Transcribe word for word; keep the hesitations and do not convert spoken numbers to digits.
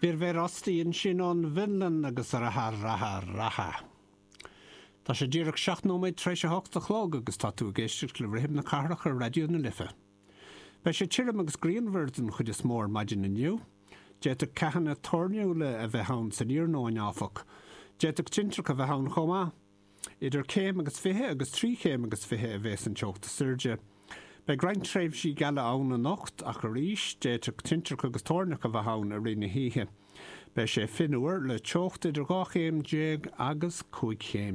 Virve Rasti ansin ón bhFionlainn agus Raha Raha Raha. Tá sé díreach seacht nóiméad tar éis a hocht a chlog agus tá tú ag éisteacht le Rithim na Cathrach ar Raidió na Life. Beidh sé tirim agus grianmhar den chuid is mó ar maidin inniu. D'fhéadfadh ceathanna toirniúla a bheith ann san iarnóin áfach. D'fhéadfadh tintreach a bheith ann chomh maith. Idir céim agus fiche agus trí chéim agus fiche a bheas an teocht is airde. Beidh roinnt tréimhsí geala ann anocht ach arís d'fhéadfadh tintreach agus toirneach a bheith ann i rith na hoíche. Beidh sé fionnuar le teocht idir dhá chéim déag agus cúig chéim